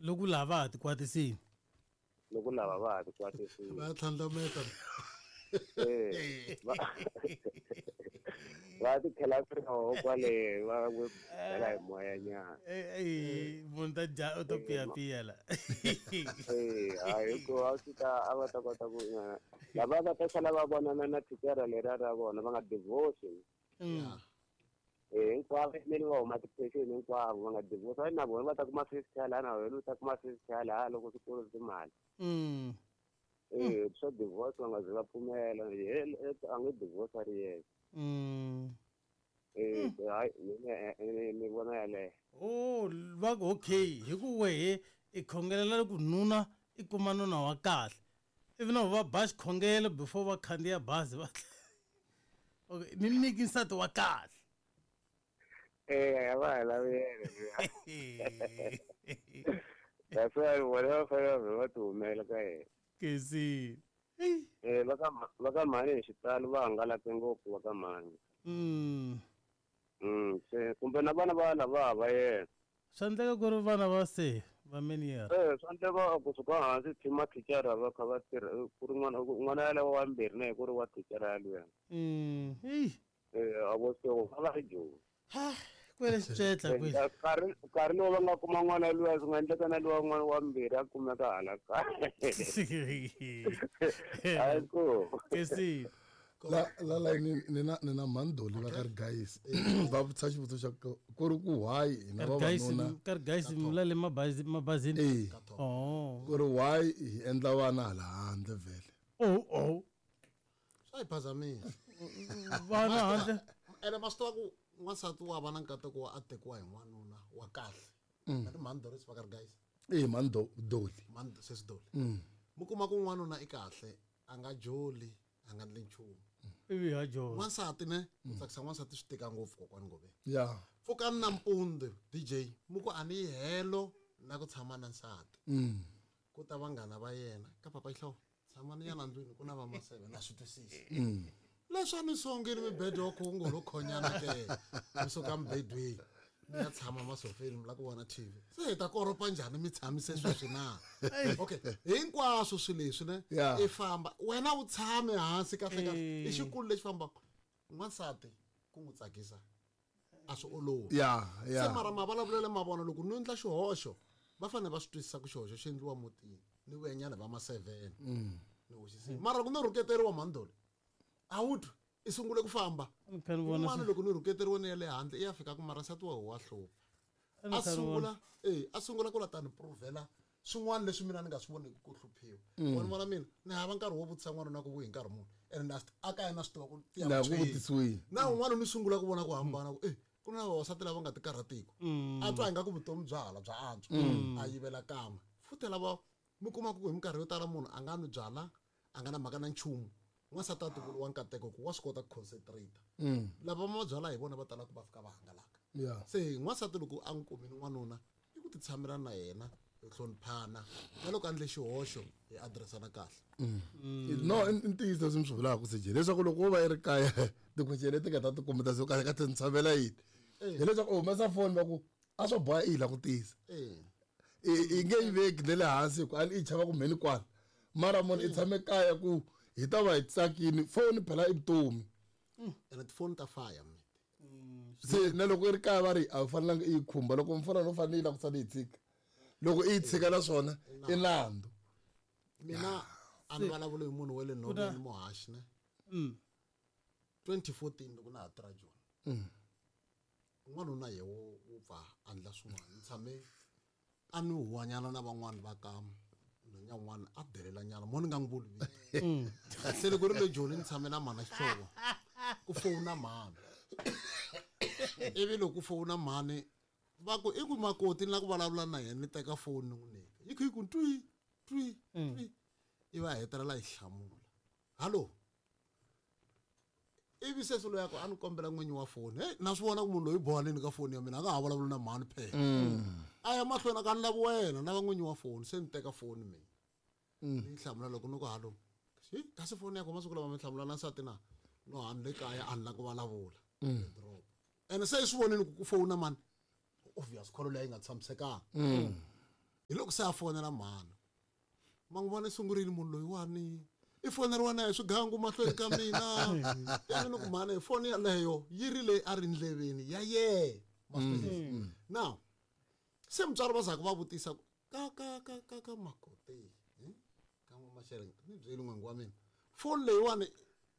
Loko lava va ha tikwatisini. Loko lava va ha tikwatisini. Va tlhandlameta. Eh, va va ti khela swiroho kwale va n'wi bela hi moya nyana. Eh, eh, munhu ta dya u to piyapiya la. Eh, hayi ku a swi ta a va ta kota ku lava va ta sala va vonana na thicara leriya ra vona va nga divorce. Eh, hinkwavo meni va huma tiphexeni hinkwavo va nga divorce va na vona va ta kuma 50 hala na wena u ta kuma 50 hala loko swikolo timali. Eh, swa divorce va nga zi va pfumela a nge divorce a ri yexe. Eh, hayi mina ni vona yaleyo. Oh, va ku okay hi ku wehe i khongelela ku nuna i kuma nuna wa kahle ivi na va ba xikhongelo before va khandziya bazi va okay ni nyiki nsati wa kahle. Eh, a va ha lavi yena. That's why vona va fanele va va ti humela ka yena. Kesi. Eh, va ka mhani hi xitalo va hangalake ngopfu va ka mhani. Se kumbe na vana va lava va yena. Swa endleka ku ri vana va se va many year. Eh, swa endleka kusuka hansi thima thicara va kha va tirha ku ri n'wana n'wana yaleyo wa mbirhi na ku ri wa thicara yaliya. Ei. Eh, a vo se va va ri joni. Ha, kwele xicetla kwele. Nkarhi nkarhi lowu va nga kuma n'wana luya swi nga endleka na luwa n'wana wa mbirhi a kumeka hala kaya. Hayi ku. Kesi. La la la ni na mandoli va ka ri guys va vutisa xivutiso xa ku ri ku why hina vavanuna Ka ri guys mula le mabazi mabazini. Eh. Oh. Ku ri why hi endla vana hala handle vhele. Oh oh. Swa hi phazamisa. Vana handle. Ene ma swi tiva ku n'wansati wa va na nkateko wa a tekiwa hi n'wanuna wa kahle. Na ri mhani Doris va ka ri guys. Eh, mhani Doli. Mhani sesi Doli. Mu kuma ku n'wanuna i kahle a nga joli a nga ndli nchumu. Ivi ha jola. N'wansati ne ku tsakisa n'wansati swi tika ngopfu kokwani Ngove. Ya. Pfukani nampundzu DJ mu ku a ni yi helo na ku tshama na nsati. Ku ta vanghana va yena ka papa Xihlovo tshamani nyana ndlwini ku na va maseve na swi twisisa. Leswi a ni songile mibedo wa khongo lo khonyana ke mi suka mibedweni mi ya tshama masofeni mi la ku vona TV se hi ta koropa njhani mi tshamise sweswi na. Okay, hinkwaswo swilo leswi ne i famba wena u tshame hansi kahle kahle i xikulu lexi fambaka n'wansati ku n'wi tsakisa a swi olovi. Ya, ya. Se mara mavulavulelo ma vona loko no endla xihoxo va fanele va swi twisisa ku xihoxo xi endliwa mutini ni vuyanyana va ma 7. Ni hoxisile. Mara loko no rhuketeriwa mhandoli a wu twi i sungule ku famba. Un'wana loko ni rhuketeriwa ni ya le handle i ya fika ku mara nsati wa wa hlupha. A sungula a sungula ku la ta ni provela swin'wana leswi mina ni nga swi voniki ku hluphiwa. Vona vona mina ni hava nkarhi wo vutisa n'wana na ku vuyi hi nkarhi muni. Ene na a kaya na swi tiva ku tiya Na ku vutisiwile. Na un'wana ni sungula ku vona ku hambana ku ku na vavasati lava nga tikarhatiki. A twa ingaku vutomi bya hala bya antswa. A yivela kan'we. Futhi lava mi kuma ku hi minkarhi yo tala munhu a nga nwi byala a nga na mhaka na nchumu. N'wansati a tivuriwa nkateko ku wa swi kota ku concentrate. Lava ma byala hi vona va tala ku va fika va hangalaka. Se n'wansati loko a n'wi kumile n'wanuna i ku titshamela na yena hi hloniphana na loko a endle xihoxo hi addressana kahle. No, i ntiyiso leswi mi swi vulaka CJ leswaku loko wo va i ri kaya tikhweceni leti nga ta ti kumeta se kahle ka ti tshamela yini. Hileswaku u humesa foni va ku a swo boha i yi la ku tisa. I nge yi veki ne le hansi hi ku a i chava ku mheni kwala. Mara munhu i tshame kaya ku hi ta va hi tsakini foni phela i vutomi. Ene tifoni ta faya mate. Se na loko i ri kaya va ri a wu fanelanga i yi khumba loko mfana no fanele yi la ku sala yi tshika. Loko i yi tshika naswona i nandzu. Mina a ni vulavuli hi munhu wa le nhoveni muhaxi ne. 2014 loko na ha tirha Joni. N'wanuna ye wo pfa a endla swin'wana ni tshame a ni huwanyana na van'wani va ka nhwenya un'wana a delela nyana mo ni nga n'wi vuli vito. Se loko ri le Joni ni tshame na mhana Xihlovo ku fowuna mhani. Ivi loko ku fowuna mhani va ku i ku makoti ni la ku vulavula na yena ni teka foni ni n'wi nyika. Yi kha yi ku twi twi twi ivi a hetelela yi hlamula. Hallo. Ivi sesi loyi a ku a ni kombela n'winyi wa foni. Hey, na swi vona ku munhu loyi bohanini ka foni ya mina a nga ha vulavuli na mhani phela. A ya mahlweni a ka ni lavi wena na va n'winyi wa foni se ni teka foni mina. Ni hlamula loko ni ku hallo. Hi kasi foni ya ku masiku lama mi hlamula na nsati na no ha ni le kaya a ni la ku vulavula. Drop. Ene se i swi vonile ku fowuna mani. Obvious call leyi nga tshamisekanga. Hi loko se a fonela mhani. Ma n'wi vona i sungurile munhu loyiwani. I foneriwa na hi swigangu mahlweni ka mina. Ivi ni ku mhani foni yaleyo yi ri leyi a ri ndleveni ya yena. Ma swi twisisa? Now se mutswari va za ku va vutisa ku ka ka ka ka ka makoti ka n'wa-Masheleng ni byeli n'wingi wa mina foni leyiwani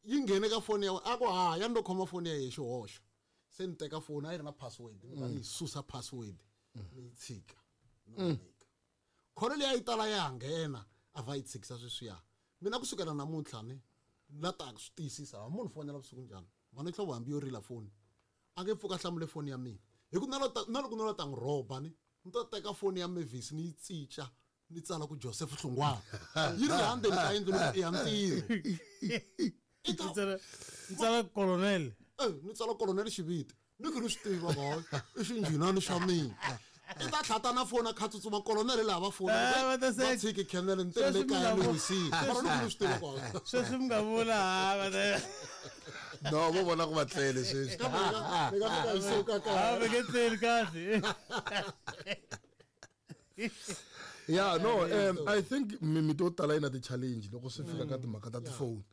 yi nghene ka foni ya wena a ku ha ya ni lo khoma foni ya yehe xihoxo se ni teka foni a yi ri na password ni va ni yi susa password ni yi tshika ni n'wi nyika kholo leyi a yi tala ya ha nghena a va yi tshikisa sweswiya mina kusukela namuntlha ni la ta swi tiyisisa ha munhu fonela vusiku njhani mhani hlovo hambi yo rila foni a nge pfuka hlamule foni ya mina hi ku na loko no la ta n'wi rhoba ni ni ta teka foni ya Mavis ni yi cinca ni tsala ku Joseph Hlungwana yi ri laha ndzeni ka yindlu ni ku i ya ntirho i ta tsala colonel ni tsala colonel xiviti ni ku ni swi tiva boy i xinjhinani xa mina i ta tlhata na foni a kha tsutsuma colonel laha va fona va tshiki khenele ni tele kaya ni wisile mara ni ku ni swi tiva ku sweswi mi nga vula ha va no vo vona ku va tlele sweswi ni nga fika hi suka kaya va nge tleli kahle. Yeah, no, I think mimiti yo tala yi na ti-challenge loko swi fika ka timhaka ta tifoni.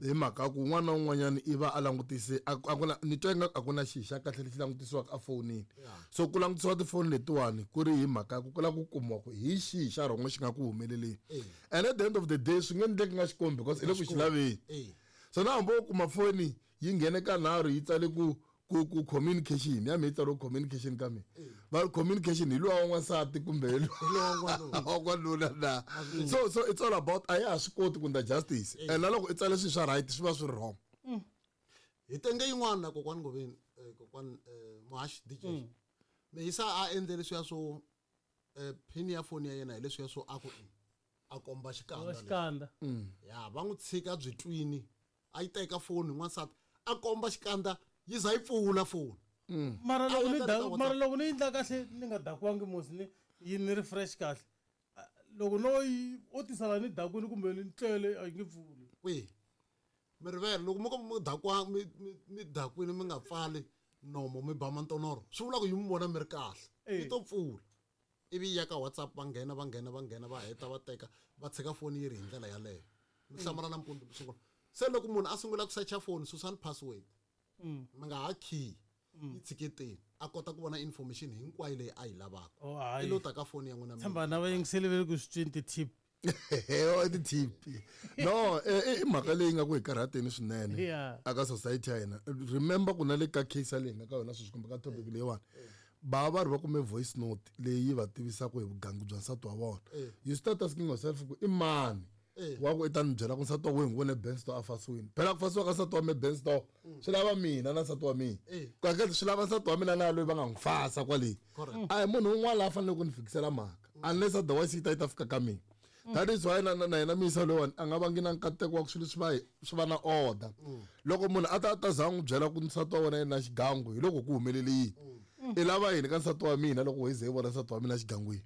Hi mhaka ku un'wana na un'wanyana i va a langutise a ku na ni twa ingaku a ku na xi xa kahle lexi langutisiwaka efonini. So ku langutisiwa tifoni letiwani ku ri hi mhaka ku ku lava ku kumiwa ku hi xihi xa rhongo xi nga ku humeleleni. And at the end of the day swi nge endleki nga xikombi because i le ku xi laveni. So na hambi wo kuma foni yi nghene ka nharhu yi tsale ku ku ku communication ya mi yi tsariwe communication ka mina va communication hi luwa wa n'wansati kumbe hi luwa wa n'wanuna na so so it's all about a ya ha swi koti ku ndla justice and na loko i tsale swilo swa right swi va swi ri wrong. Hi tenge yin'wana na kokwani Ngoveni kokwani Muhaxi DJ Meyisa a endle leswiya swo pin ya foni ya yena hi leswiya swo a ku a komba xikandza xikandza ya va n'wi tshika byi twini a yi teka foni n'wansati a komba xikandza yi za yi pfula foni. Mara loko ni mara loko ni endla kahle ni nga dakiwangi musi ni yi ni ri fresh kahle loko no yi o tisala ni dakwini kumbe ni tlele a yi nge pfuli. Kwihi mi rivele loko mo ka mi dakwa mi dakwini mi nga pfali nomo mi ba mantonoro swi vula ku yi mi vona mi ri kahle yi to pfula ivi ya ka WhatsApp va nghena va nghena va nghena va heta va teka va tshika foni yi ri hi ndlela yaleyo mi hlamala nampundzu mi sungula se loko munhu a sungula ku searcha foni susani password mi nga ha key yi tshiketeni a kota ku vona information hinkwayo leyi a yi lavaka i lo ta ka foni ya n'wina tshemba na va yingiseli ve le ku swi tweni ti-tip ti-tip no i mhaka leyi nga ku hi karhateni swinene aka society ya hina. Remember ku na le ka case leyi nga ka yona sweswi kumbe ka topic leyiwani ba va ri va kume voice note leyi va tivisaka hi vugangu bya nsati wa vona. You start asking yourself ku i mani wa ku i ta ni byela ku nsati wa wena n'wi vone Benstore a fasiwini. Phela ku fasiwa ka nsati wa me Benstore swi lava mina na nsati wa mina. Kahle swi lava nsati wa mina na loyi va nga n'wi fasa kwale. A hi munhu un'wana la faneleke ku ni fikisela mhaka unless otherwise yi ta yi ta fika ka mina. That is why na yena miyisa loyiwani a nga vangi na nkateko wa ku swilo swi va na order. Loko munhu a ta za n'wi byela ku nsati wa wena yena xigangu hi loko ku humelele yini. I lava yini ka nsati wa mina loko hi ze hi vona nsati wa mina xigangwini.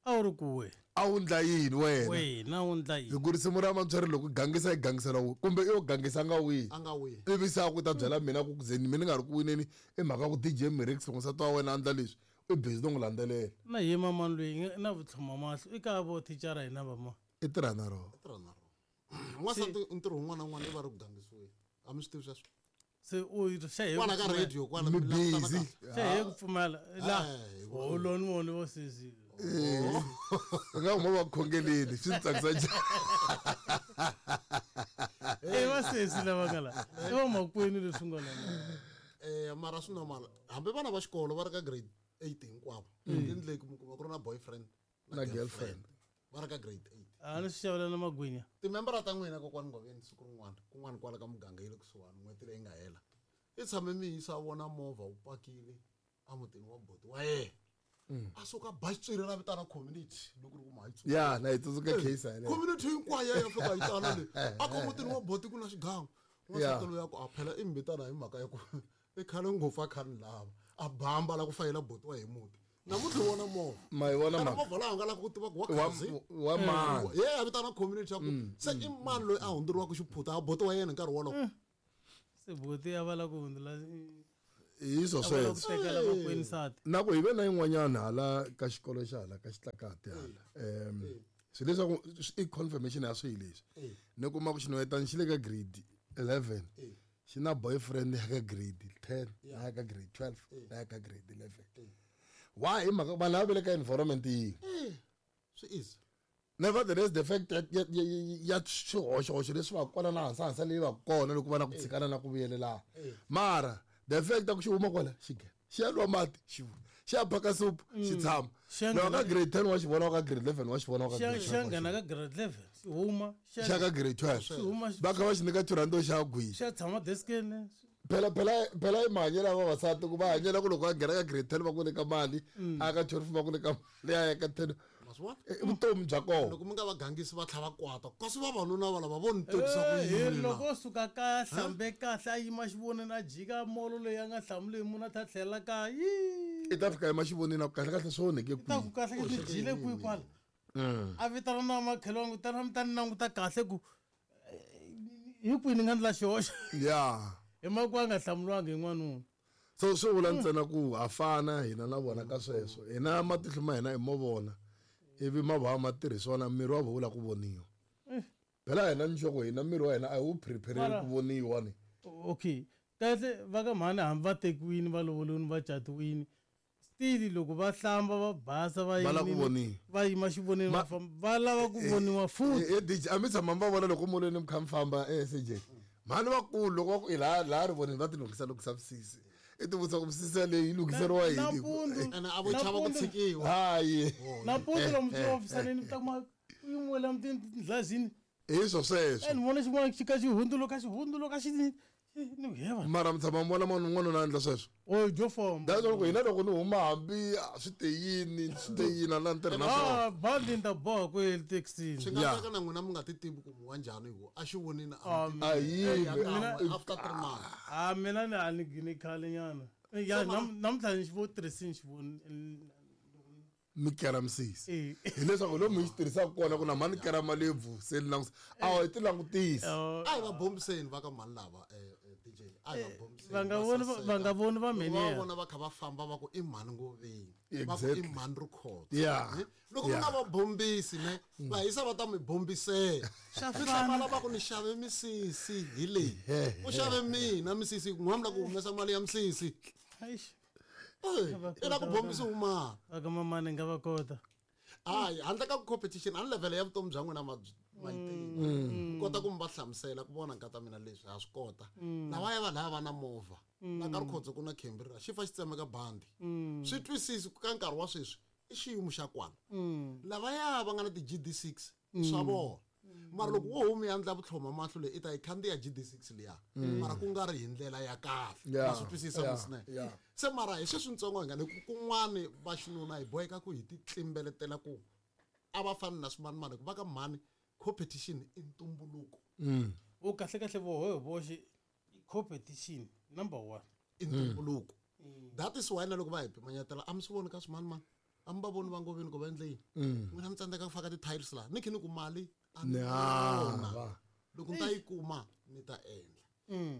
A wu ri kuwe. A wu ndla yini wena? Wena wu ndla yini? Hi ku risimu ra Mantsweri loko gangisa yi gangisela wihi kumbe i yo gangisa nga wihi? A nga wihi. Ivi se a ku ta byela mina ku ze mina ni nga ri ku wineni i mhaka ku DJ Mirix loko nsati wa wena a ndla leswi i busy no n'wi landzelela. Na ye mama loyi na vutlhoma mahlo i ka vo thicara hina va ma. I tirha na rona. I tirha na rona. N'wansati ntirho wun'wana na wun'wana i va ri ku gangisiweni. A mi swi tivi sweswo? Se u xa hi kwala ka radio kwala mi busy. Xa hi ku pfumela la holoni vona vo sesi. Nga huma va khongeleni swi tsakisa njhani. I va sesi lava nga la. I va makwenu leswi nga la. Mara swi normal. Hambi vana va xikolo va ri ka grade 8 hinkwavo. Endleki mi kuma ku ri na boyfriend na girlfriend. Va ri ka grade 8. A ni swi xavela na magwinya. Timembara ta n'wina kokwani Ngoveni siku rin'wana kun'wana kwala ka muganga yi le kusuhani n'hweti leyi nga hela. I tshame mi yisa vona movha wu pakile emutini wa boti wa yena. A suka ba xitswiri ra vitana community loko ri ku ma yi Ya na yi tsundzuka case yaleyo. Community hinkwayo ya fika yi tala le. A ku mutini wa boti ku na xigangu. N'wansati loyi a ku a phela i mbitana hi mhaka ya ku i khale ngopfu a kha ni lava. A bamba la ku fayela boti wa hi muti. Namuntlha vona movha. Ma yi vona mhaka. Movha laha nga lava ku tiva ku wa khazi. Wa mani. Ye a vitana community ya ku se i mani loyi a hundzuriwaka xiphuta a boti wa yena nkarhi wolowo. Se boti a va la ku hundzula. Hi swo sweswo. Tekela makwenu nsati. Na ku hi ve na yin'wanyana hala ka xikolo xa hala ka xitlakati hala. Swi leswaku i confirmation ya swilo leswi. Ni kuma ku xinhwetana xi le ka grade 11. Xi na boyfriend ya ka grade 10, na ya ka grade 12, na ya ka grade 11. Why hi mhaka vanhu lava va le ka environment yin'we? Swi easy. Nevertheless, the fact that ya swihoxohoxo leswi va kona na hansi hansi leyi va kona loko va na ku tshikana na ku vuyelelana. Mara the fact ku xi huma kwala xi nghena, xi ya nwa mati xi vuya, xi ya phaka supu xi tshama. Loko ka grade 10 wa xi vona, ka grade 11 wa xi vona, ka grade 12 xi nghena ka grade 11 xi huma, xi ya ka grade 12 va kha va xi nyika 2 rand xa gwinya, xi ya tshama deskeni. Phela phela phela i mahanyelo ya vavasati ku va hanyela ku loko va nghena ka grade 10 va ku nyika mali, a ka 12 va ku nyika mali, a ya ka 10 i vutomi bya kona. Loko mi nga va gangisi va tlhava kwata, kasi vavanuna va lava vo ni tivisa ku yini. Loko o suka kaya hlambe kahle a yima xivonini a jika molo leyi a nga hlamuli hi munhu a ta tlhela kaya. I ta fika yima xivonini a ku kahle kahle swi onheke kwihi. Ta ku kahle kahle ni jile kwihi kwala. A vitana na makhelwani ku tana mi ta ni languta kahle ku hi kwihi ni nga ndla xihoxo. Yeah. Hi mhaka ku a nga hlamuriwangi hi n'wanuna. So swi vula ntsena ku ha fana hina na vona ka sweswo. Hina matihlo ma hina i mo vona, ivi ma va ma tirhisiwa na miri wa vona wu lava ku voniwa. Phela hina ni sure ku hina miri wa hina a hi wu prepare-eli ku voniwa ni. Okay. Kahle va ka mhani hambi va tekiwini, va lovoliwini, va catiwini, still loko va hlamba va basa va Va lava ku voniwa. Va yima xivonini va famba, va lava ku voniwa futhi. DJ, a mi tshama mi va vona loko molweni mi kha mi famba SJ. Mhani vakulu loko va ku i laha laha rivonini va ti lunghisa lunghisa misisi. I ti vutisa ku misisi yaleyo yi lunghiseriwa yini? Ene a vo chava ku tshikiwa. Hayi. Nampundzu lomu tihofisini mi ta kuma u yimiwela tindlazini. Hi swo sweswo. Ni vona xin'wana xi ka xi hundzuluka xi hundzuluka xi ni heva. Mara mi tshama mi vona n'wanuna a endla sweswo? O dyo famba. That's why loko hina loko ni huma hambi swi te yini, swi te yini a na ni tirhi na swona. Bandi ni ta boha ku yele taxini. Swi nga endleka na n'wina mi nga ti tivi ku mi wa njhani hi ku a xi vonini a mi A yivi. After 3 months. Mina ni a ni gine khale nyana. Ya, namuntlha ni xi vo tirhisini xi voni. Mi kera misisi. Hileswaku lomu hi xi tirhisaka kona ku na mhani kera malebvu se ni langutisa. A hi ti langutisi. A hi va bombiseni va ka mhani lava, DJ. A hi va bombiseni. Va nga voni va mhani yena. Va vona va kha va famba va ku i mhani Ngoveni. Va ku i mhani Rikhotso. Loko mi nga va bombisi ne, va hisa va ta mi bombisela. Mi hlamala va ku ni xave misisi hi leyi. U xave mina misisi, n'wana mi la ku humesa mali ya misisi. I la ku bombisa wun'wana. Va ka mamani nga va kota. Hayi, handle ka competition, a ni level ya vutomi bya n'wina ma yi tivi. Ku kota ku mi va hlamusela ku vona nkata mina leswi ha swi kota. Lava ya vanhu lava va na movha. Na ka Rikhotso ku na Cambridge, xi fa xi tsemeka bandi. Swi twisisi ku ka nkarhi wa sweswi i xiyimo xa kwala. Lavaya va nga na ti GD6 swa vona. Mara loko wo huma ya ndla vutlhoma mahlo leyi i ta yi khandziya GD6 liya. Mara ku nga ri hi ndlela ya kahle. Ma swi twisisa musine. Se mara hi sweswi ntsongo hi nga ni kun'wani va xinuna hi boheka ku hi ti tlimbeletela ku a va fani na swimanimani ku va ka mhani competition i ntumbuluko. U kahle kahle voho hi voxe competition number 1. I ntumbuluko. That is why na loko va hi pimanyetela a mi swi voni ka swimanimani. A mi va voni va Ngoveni ku va endle yini. N'wina mi tsandzeka ku faka ti-tiles laha. Ni khe ni ku mali a ni vona. Loko ni ta yi kuma ni ta endla.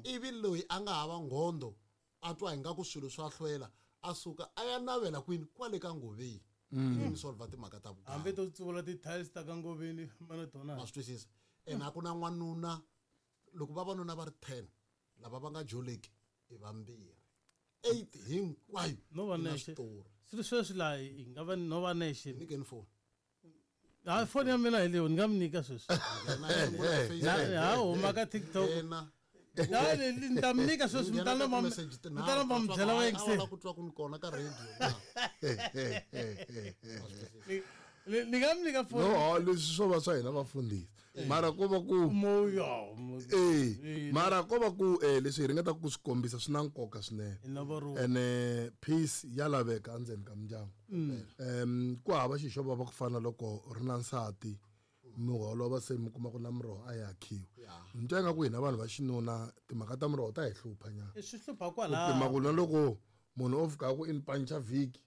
Ivi loyi a nga hava nghondo a twa ingaku swilo swa hlwela a suka a ya navela kwini kwale ka Ngoveni. Ivi mi solve timhaka ta vukati. Hambi to tsuvula ti-tiles ta ka Ngoveni mana tona. Ma swi twisisa. Ene a ku na n'wanuna loko vavanuna va ri 10 lava va nga joleki i vambirhi. 8 hinkwayo. No va nexe. Swilo sweswi laha hi nga va no va nexe. Nyikeni phone. Ha phone ya mina hi leyo ni nga mi nyika sweswi. Ha huma ka TikTok. Ni ta mi nyika sweswi mi ta na va mi ta na va mi byela va yingisela. La ku twa ku ni kona ka radio. Ni nga mi nyika phone. No, leswi swo va swa hina vafundhisi. Mara ko va ku moya. Mara ko va ku leswi hi ringetaka ku swi kombisa swi na nkoka swinene. Ene peace ya laveka endzeni ka mindyangu. Ku hava xilo xo vava ku fana loko ri na nsati mi holova se mi kuma ku na miroho a yi akhiwi. Ni twa ingaku hina vanhu va xinuna timhaka ta miroho ta hi hlupha nyana. Swi hlupha kwalaho. Ku pima ku na loko munhu o fika ku i ni pancha vhiki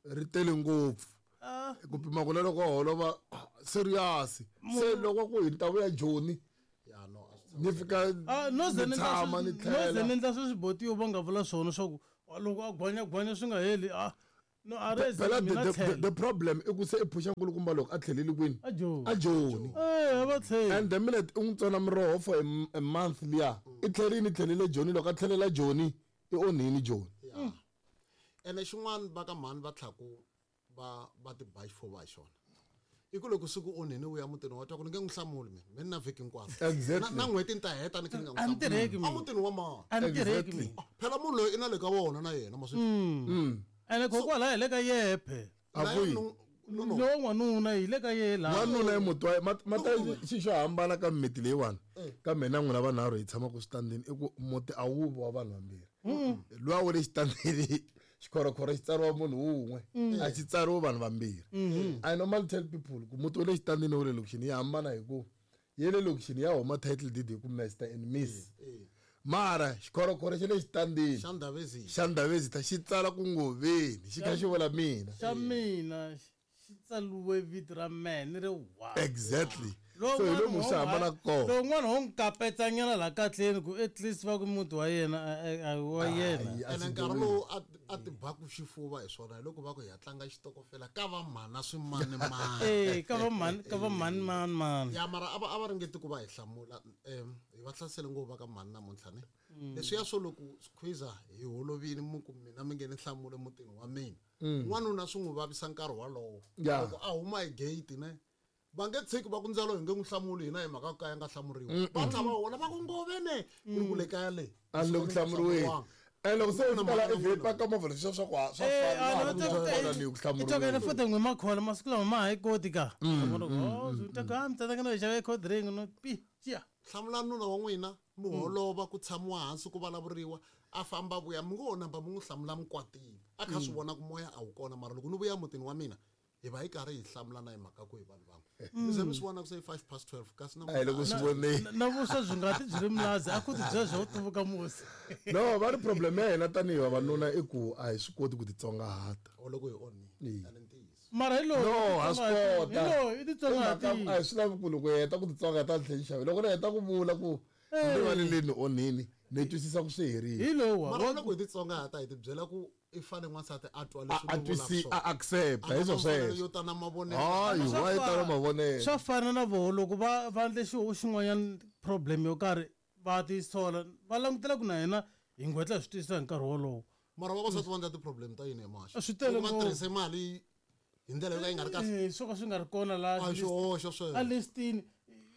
ri tele ngopfu. Ku pima ku na loko holova serious. Se loko ku hi ta vuya Joni. Ni fika no ze ni tshama ni tlhela. No ze ni endla sweswi botiyo va nga vula swona swa ku Loko a gwanyagwanya swi nga heli, a no a re Phela mina the problem i ku se i phusha nkulukumba loko a tlheleli kwini? A Joni. A Joni. Eh, va tlheli. And the minute u n'wi tsona miroho for a month liya, i tlherini, i tlhelele Joni. Loko a tlhelela Joni, i onhini Joni. Ya. Ene xin'wana va ka mhani va tlhaku va ti ba xifuva hi xona. I ku loko siku onhini u ya mutini wa twa ku ni nge n'wi hlamuli mina, mina na vhiki hinkwaro. Na n'hweti ni ta heta ni kha ni nga n'wi A ni tirheki hlamuli. mina. A mutini wa mani? A ni tirheki mina. Phela munhu loyi i na le ka wona na yena maswi. Ene kokwalaho hi le ka yehe phela. A Na kwihi? yena no, no. Lowa n'wanuna hi le ka yehe laha. N'wanuna i muti wa mata xi xo hambana ka mimiti leyiwani. Ka mina n'wina vanharhu hi tshamaka switandini i ku muti a wu vi wa vanhu vambirhi. Luwa wu le xitandini, xikhorokhoro xi tsariwa munhu wun'we, a xi tsariwi vanhu vambirhi. I normally tell people ku muti wa le xitandini wa le lokixini yi hambana hi ku ye le lokixini ya huma title deed hi ku Mister and Miss. Mara xikhorokhoro xa le xitandini Xa Ndhavezini. xa Ndhavezini xi tsala ku Ngoveni, xi kha xi vula mina. Xa mina xi tsaliwe vito ra mehe ni ri one. Exactly. Lowu So hi n'wana lomu swi hambana kona. Lowu n'wana ho n'wi kapetsanyana laha kahleni ku at least va ku muti wa yena, a wa yena. Hayi, a Ene swi nkarhi bohi. lowu a ti baku xifuva hi swona, hi loko va ku hi ya tlanga xitokofela ka va mhana swimanimani. Eh, ka va mhani, ka va mhani, mani, mani. Ya, mara a va ringeti ku va hi hlamula. Hi va hlasele ngopfu va ka mhani namuntlha ne. Leswiya swo loko squeezer hi holovile mu ku mina mi nge ni hlamule mutini wa mina. N'wanuna swi n'wi vavisa nkarhi walowo. Loko a huma hi gate ne, va nge tshiki va ku ndzalo hi nge n'wi hlamuli hina hi mhaka ku ka ya nga hlamuriwi. Va tlha va hola va ku ngove ne, ku ri ku le kaya le. A ni le ku hlamuriweni. And loko se u fika laha i vhe paka movha leswiya swa ku swa Eh, fana, a na ni ha va ku teka- vona ni ku i teka hlamuriweni. yena futhi n'wi makhola masiku lama ma ha yi koti ka. Vona ku, oh, swi ta ku, ah, mi tsandzeka no yi xava cold drink, no, pi, xiya. Hlamula nuna wa n'wina, mi holova ku tshamiwa hansi ku vulavuriwa, a famba vuya, mi ngo namba mi n'wi hlamula mi kwatile. A kha swi vona ku moya a wu kona, mara loko ni vuya mutini wa mina, hi va hi karhi hi hlamulana hi mhaka ku hi vanhu van'we. Mi ze mi swi vona ku se i 12:05, kasi na A hi le ku swi voneni. Na vuswa byi nga ti byi ri mulazi, a ku ti byela bya ku tuvuka musi. No, va ri problem ya hina tanihi vavanuna i ku a hi swi koti ku titsongahata. O loko hi onhile, a ni ntiyiso. Mara hi loyi, No, ha swi kota. Hi loyi, i titsongahata. Hi mhaka a hi swi lavi ku loko hi heta ku titsongahata ni tlhela ni xava. Loko ni heta ku vula ku ni rivaleleni ni onhini, ni twisisa ku swi herile. Hi lowa. Mara loko hi titsongahata hi tibyela ku i fanele n'wansati a twa leswi A ni vulaka twisi, swona. a accept, A hi nga swo na mfanelo sweswo. yo ta na mavonelo. Hayi, Swa wa yi tala mavonelo. Swa fana na voho loko va endle xin'wanyana problem yo karhi va tisola, va langutela ku na hina hi ngwetla hi swi twisisa hi nkarhi wolowo. Mara vavasati va endla ti-problem ta yini hi maxa? A swi tele Loko va ngopfu. tirhise mali hi ndlela yo ka yi nga ri kahle. Eh, swo ka swi nga ri kona laha A hi xihoxo sweswo. a listini,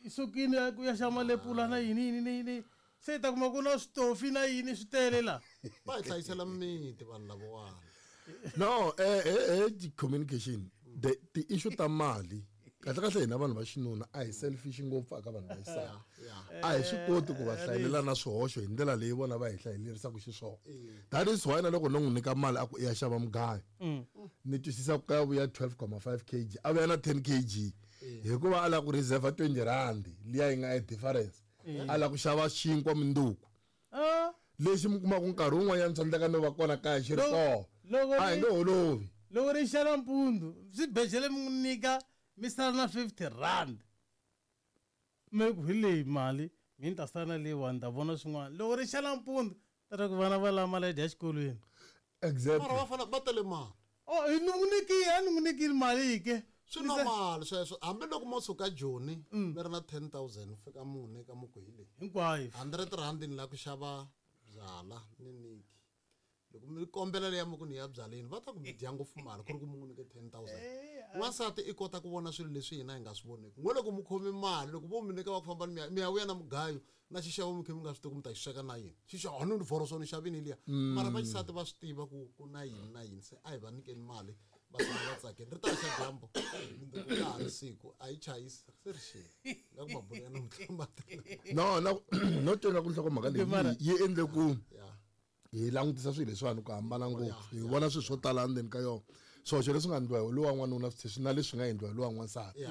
i sukile a ku ya xava malepula na yini, yini, yini, yini. Se hi ta kuma ku na switofi na yini swi tele laha. Va hi hlayisela mimiti vanhu lavawani. No, communication, ti-issue ta mali, kahle kahle hina vanhu va xinuna a hi selfish ngopfu aka vanhu va xisati. A hi swi koti ku va hlayelela na swihoxo hi ndlela leyi vona va hi hlayelerisaka xiswona. That is why na loko no n'wi nyika mali a ku i ya xava mugayo, ni twisisa ku ka vuya 12.5 kg, a vuya na 10 kg. Hikuva a lava ku reserve 20 rand liya yi nga e difference. A lava ku xava xinkwa minduku. Lexi mi kumaka nkarhi wun'wanyana swi endleka no va kona kaya xi ri kona. A hi nge holovi. Loko ri xa nampundzu, swibedhlele mi n'wi nyika mi sala na 50 rand. Mi ku hi leyi mali, mi ni ta sala na leyiwani, ni ta vona swin'wana. Loko ri xa nampundzu, ta ri ku vana va lava mali ya dya exikolweni. Exactly. Mara va fanele va tele mali. Oh, hi ni n'wi nyikile, a ni n'wi nyikile mali ke. Swi normal sweswo. Hambi loko mo suka Joni, mi ri na 10,000, fika mune ka muku hi leyi. Hinkwayo. 100 rand ni lava ku xava byala ni niki. Loko mi kombela leya muku ni ya byaleni, va ta ku mi dya ngopfu mali ku ri ku mi n'wi nyike 10,000. N'wansati i kota ku vona swilo leswi hina hi nga swi voneki. N'we loko mi khome mali, loko vo mi nyika va ku famba mi ya vuya na mugayo, na xixevo mi kha mi nga swi tivi ku mi ta xi sweka na yini. Xixevo, a ni vhoroso ni xavini liya. Mara va xisati va swi tiva ku ku na yini na yini, se a hi va nyikeni mali va tshama va tsakile. Ri ta xa dyambu, mundzuku ka ha ri siku, a yi chayisi, se ri xile. Nga ku mabulo ya namuntlha ma tele. No, na no twa ku nhlokomhaka leyi yi endle ku hi langutisa swilo leswiwani ku hambana ngopfu. Hi vona swilo swo tala endzeni ka yona. Swihoxo leswi nga endliwa hi lowa n'wanuna swi na leswi nga endliwa hi lowa n'wansati.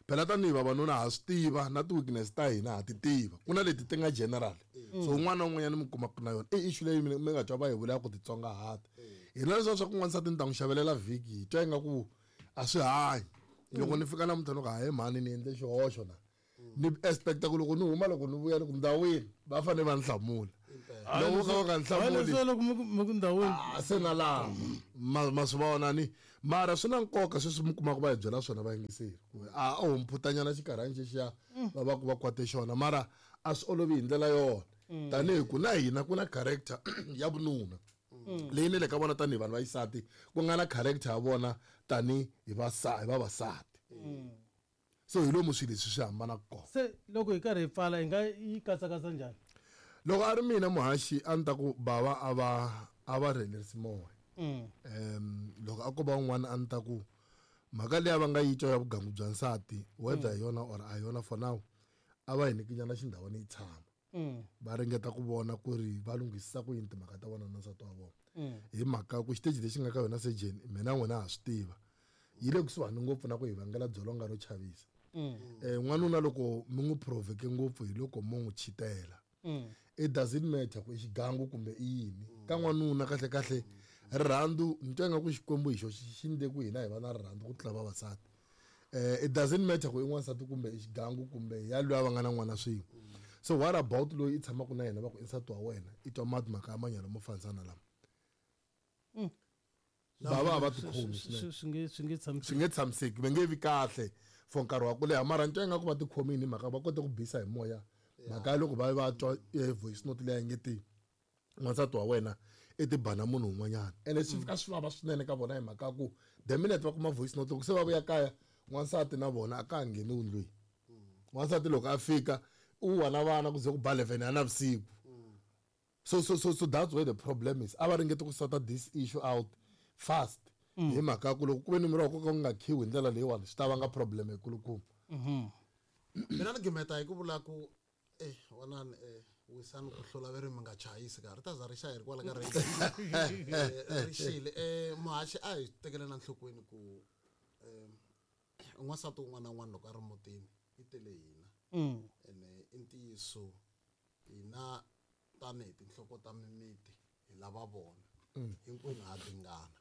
Phela tanihi vavanuna ha swi tiva na ti-weakness ta hina ha ti tiva. Ku na leti ti nga general. So un'wana na un'wanyana mi kumaka na yona. I issue leyi mi nga twa va hi vula ku titsongahata. Hina leswiya swa ku n'wansati ni ta n'wi xavelela vhiki hi twa ingaku a swi hanyi. Loko ni fika namuntlha ni ku hayi mhani ni endle xihoxo na. Ni expect-a ku loko ni huma loko ni vuya ni ku ndhawini va fanele va ni hlamula. Loko ka va nga hlamuli loko mi ku ndhawini se na laha ma swi vona ni mara swi na nkoka sweswi mi kumaka va hi byela swona vayingiseri a o mphutanyana xikarhani xexiya va va ku va kwate xona mara a swi olovi hi ndlela yona tanihi ku na hina ku na character ya vununa leyi ni le ka vona tanihi vanhu va xisati ku nga na character ya vona tanihi hi vavasati. So hi lomu swilo leswi swi hambanaka kona. Se loko hi karhi hi pfala hi nga yi katsakatsa njhani? Loko a ri mina muhaxi a ni ta ku bava a va rhelerisi moya. Loko a ko va un'wana a ni ta ku mhaka leyi va nga yi twa ya vugangu bya nsati whether hi yona or a yona for now a va hi nyikinyana xindhawani yi tshama. Va ringeta ku vona ku ri va lunghisisa ku yini timhaka ta vona na nsati wa vona. Hi mhaka ku xiteji lexi nga ka yona sejeni mina n'wina ha swi tiva yi le kusuhani ngopfu na ku hi vangela dzolonga ro chavisa. N'wanuna loko mi n'wi provoke ngopfu hi loko mo n'wi chitela. It doesn't matter ku i xigangu kumbe i yini. Ka n'wanuna kahle kahle rirhandzu ni twa ingaku Xikwembu hi xo xi ndle ku hina hi va na rirhandzu ku tlula vavasati. It doesn't matter ku i n'wansati kumbe i xigangu kumbe ya loyi a va nga na n'wana swin'we. So what about loyi i tshamaka na yena va ku i nsati wa wena i twa mati mhaka ya manyalo mo fanisana lama. Bava a va tikhomi swinene. Swi nge tshamiseki, va nge vi kahle for nkarhi wa ku leha mara ni twa ingaku va tikhomini hi mhaka va kote ku bisa hi moya. Mhaka ya loko va va twa voice note leyi nge ti n'wansati wa wena i ti bana munhu un'wanyana. Ene swi fika swi vava swinene ka vona hi mhaka ku the minute va kuma voice note loko se va vuya kaya n'wansati na vona a ka ha ngheni ndlwini. N'wansati loko a fika u wa na vana ku ze ku ba 11 ya navusiku. So that's where the problem is. A va ringeti ku sort this issue out fast. Hi mhaka ku loko ku ve ni miri wa ku nga khiwi hi ndlela leyiwani swi ta vanga problem yikulukumba. Mina ni gimeta hi ku vula ku wanani wisani ku hlula ve ri mi nga chayisi ka ri ta za ri xa hi ri kwala ka ri xile. Muhaxi a hi tekeleni enhlokweni ku n'wansati un'wana na un'wana loko a ri mutini i tele hina. Ene i ntiyiso hina tanihi tinhloko ta mimiti hi lava vona hinkwenu ha dingana.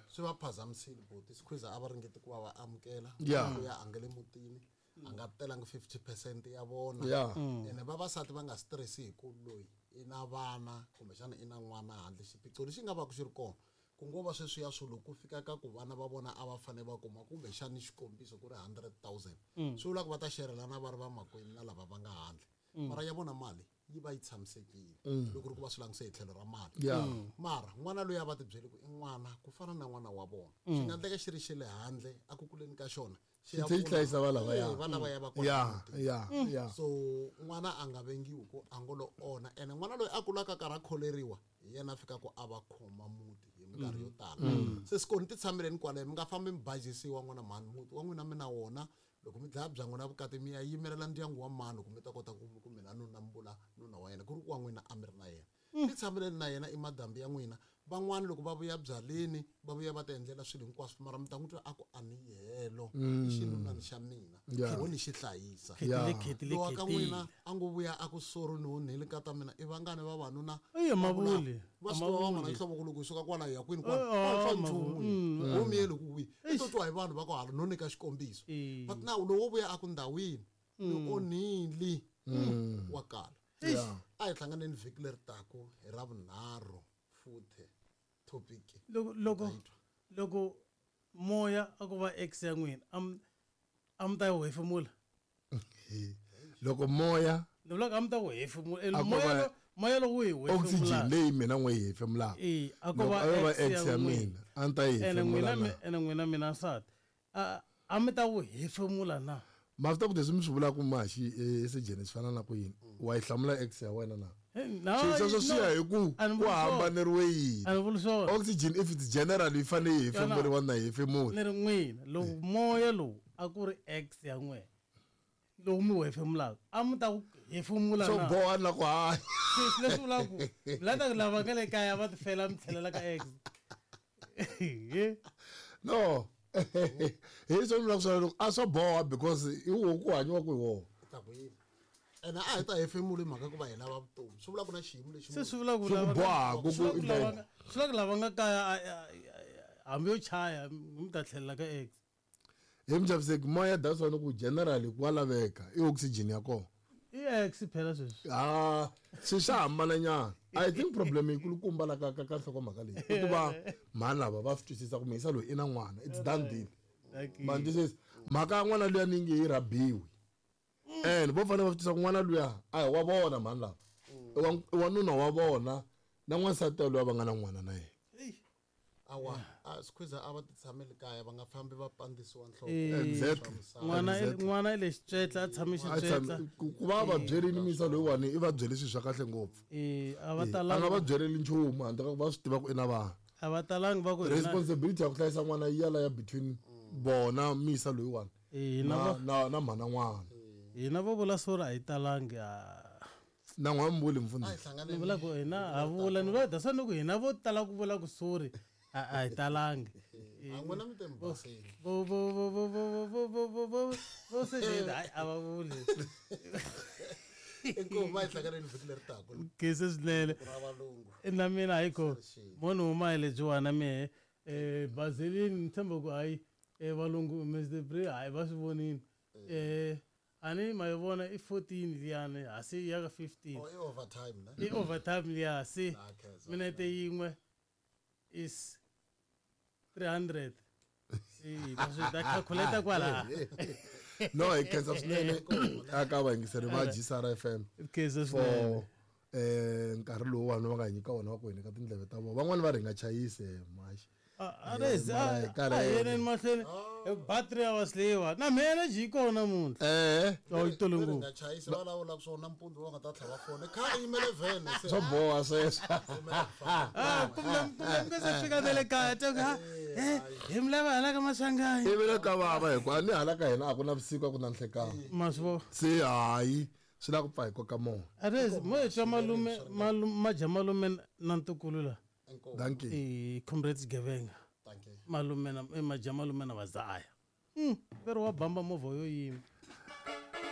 Swi va phazamisile buti Skhwiza a va ringeti ku va va amukela ku ya angele mutini a nga telangi 50% ya vona. Ene vavasati va nga stressi hi ku loyi i na vana kumbexana i na n'wana handle xiphiqo lexi nga va ku xi ri kona ku ngo va sweswiya swo loko ku fika ka ku vana va vona a va fanele va kuma kumbexana xikombiso ku ri 100,000 swi vula ku va ta xerelana va ri vamakwenu na lava va nga handle mara ya vona mali yi va yi tshamisekile loko ri ku va swi languse hi tlhelo ra mali. Mara n'wana loyi a va tibyele ku i n'wana ku fana na n'wana wa vona swi nga endleka xi ri xe le handle a ku kuleni ka xona xi hlayisa va lava ya va lava ya va kona. So n'wana a nga vengiwi ku a ngo lo onha ene n'wana loyi a kulaka karhi a kholeriwa hi yena a fika ku a va khoma muti hi minkarhi yo tala. Se sikoni ti tshameleni kwale mi nga fambi mi bajisiwa n'wana mhani muti wa n'wina mi na wona loko mi dlaya bya n'wina vukati mi ya yimelela ndyangu wa mani ku mi ta kota ku mina nuna mi vula nuna wa yena ku ri ku wa n'wina a mi ri na yena. Ti tshameleni na yena i madambi ya n'wina. Van'wani loko va vuya byaleni va vuya va ti endlela swilo hinkwaswo mara mi ta n'wi twa a ku a ni helo i xinunani xa mina wo ni xi hlayisa. Lowa ka n'wina a ngo vuya a ku sorry ni onhile nkata mina i vangani vavanuna va swi tiva van'wana nhloko ku loko hi suka kwala hi ya kwini kwala nchumu wo miyeli ku wihi i to twa hi vanhu va ku hala no nyika xikombiso but now lowo vuya a ku ndhawini ni onhile wa kala. A hi hlanganeni vhiki leri taku hi ra vunharhu futhi topic. Loko moya a ku va ex ya n'wina a mi ta yi hefemula. Loko moya ni vulaka a mi ta wu hefemula moya lowu hi hefemula oxygen leyi mina n'we yi hefemulaka a ku va ex ya mina a ni ta yi hefemula na ene n'wina mina nsati a mi ta wu hefemula na. Ma swi ta ku leswi mi swi vulaka maxi esejeni swi fana na ku yini wa yi hlamula ex ya wena na sweswo swi ya hi ku ku hambaneriwe yini. Oxygen if it's general yi fanele yi hefemuriwa na yi hefemula. Ni ri n'wina loko moya lowu a ku ri ex ya n'wina lowu mi wu hefemulaka a mi ta ku hefemula na swo boha na ku hanya leswi vulaka ku la ta lava nga le kaya va ti fela mi tlhelela ka ex. No hi swo vula swona loko a swo boha because i wo ku hanyiwa ku hi wona. Ene a hi ta hefemula mhaka ku va hi lava vutomi swi vula ku na xiyimo lexi se swi vula ku boha ku swi vula ku lava nga kaya hambi yo chaya mi ta tlhelela ka ex. Hi muchaviseki moya that's why ku generally ku wa laveka i oxygen ya kona. ex phela sweswi. Ah, swi xa hambananyana. I think problem yikulukumba la ka nhlokomhaka leyi i ku va mhani lava va swi twisisa ku muyisa loyi i na n'wana, it's done deal. Ma ni twisisa? Mhaka ya n'wana luya ni nge yi rhabiwi, and vo fanele va swi twisisa ku n'wana luya a hi wa vona mhani lava, i wa nuna wa vona na n'wansati luya va nga na n'wana na yena. Awa, a squeeze a va ti tshameli kaya, va nga fambi va pandzisiwa nhloko. Exactly. N'wana Exactly. N'wana i le xitswetla, a tshame A xitswetla. Ku va byerini misa loyiwani i va byele swilo swa kahle ngopfu. A va A nga talangi. va byeleli nchumu handle ka ku va swi tiva ku i na vana. A va talangi va ku hina Responsibility ya ku hlayisa n'wana yi ya la ya between vona misa loyiwani hina na mhana n'wana. Hina vo vula sorry a hi talangi. A Na n'wana mbuli mfundhisi. A hi hlanganeni. Ni vula ku hina ha vula, ni vula that's why ni ku hina vo tala ku vula ku sorry a hi talangi. A n'wina mi te mi basile. Vo vo vo vo vo vo vo vo vo vo se hayi a va vuli. Inkomu, a hi hlanganeni vhiki leri taka. Khensa swinene. Ra valungu. Na mina hayi ko mo ni huma hi lebyiwana mehe Bazelini ni tshemba ku hayi valungu Mr Bray hayi va swi vonini. A ni ma yi vona i 14 liyani hasi ya ka 15. Oh, i overtime ne? I overtime liya se Ah, khensa. minete yin'we is 300. Se hi ta swi ta calculate kwala. No, hi khensa swinene aka vayingiseri va GCR FM Khensa for swinene. nkarhi lowuwani va nga hi nyika wona wa ku hi nyika tindleve ta vona. Van'wani va ri hi nga chayisi maxi. A ri zi, Mara hi karhele. a hi yeneni mahlweni. Battery ya was leyiwa. Na mehe energy yi kona namuntlha. Oh, yi tele Ri ngopfu. nga chayisi, va lawula ku swona nampundzu va nga ta tlhava foni. Kha yi yimele vhene se. Swo boha sweswo. Ah, kumbe mi nga se fika na le kaya, ta ku, ha, hi mi lava hala ka Maswanganyi. Ivi le ka vava hi ku a ni hala ka hina a ku na vusiku a ku na nhlekani. Ma swi vona? Se hayi, swi lava ku pfa hi koka moya. A ri zi, mo hi twa malume, malume, madya malume na ntukulu la. Dankie. Comrades Gevenga. Dankie. Malume na, madya malume na vazaya. Veri wa bamba movha yo yima.